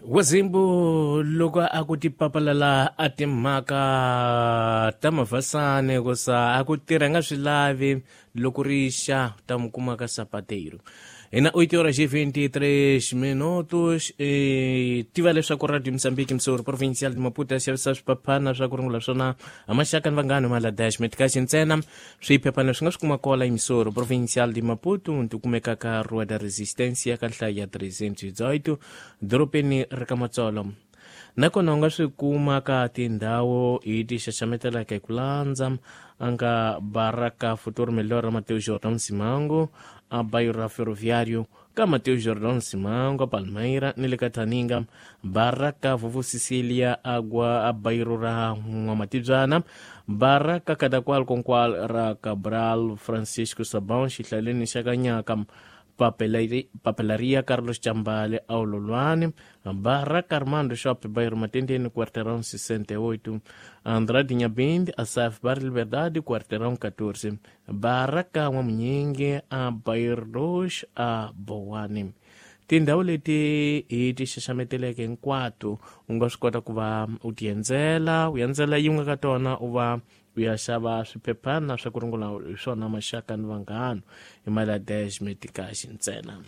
Wazimbu loko a ku tipapalala a timhaka ta mavhasane ku sa a ku tirha nga swi lavi loko ri xa ta mu kuma ka sapateiro hina 8 horas e 23 minutos. Tiva leswaku Radio Mozambique Msoro Provincial de Maputo ya xavisa swiphaphana swa ku rungula swona a maxaka ni vanghana mala dash metikaxi ntsena. Swiphephana swi nga swi kuma kola eMisoro Provincial de Maputo, ti kumeka ka Rua da Resistência ka nhlayo ya 318 dorobeni ra ka Matsolo. Nakona u nga swi kuma ka tindhawu hi ti xaxametelaka hi ku landza a nga Baraka Futuro Melhor ra Mateus Jordan Simango a bairro ra Ferroviário ka Mateus Jordan Simango a Palmeira ni le ka Thaninga, Baraka Vovo Cecilia agwa a bairro ra N'wamatibyana, Baraka Kadakwal Konkwal ra Cabral Francisco Sabão xihlaleni xa Kanyaka, Papelaria Carlos Chambale Aulolwane, Baraka Armando Shop bairro Matendene quarteirão 68, Andrade Nhabinde Asaf Bar Liberdade quarteirão 14, Baraka N'wamunyingi a bairro 2 a Bowane. Tindhawu leti hi ti xaxameteleke hinkwato u nga swi kota ku va u ti endzela, u endzela yin'we ka tona u va u ya xava swiphephana swa ku rungula hi swona maxaka ni vanghana hi mali ya dash metikaxi ntsena.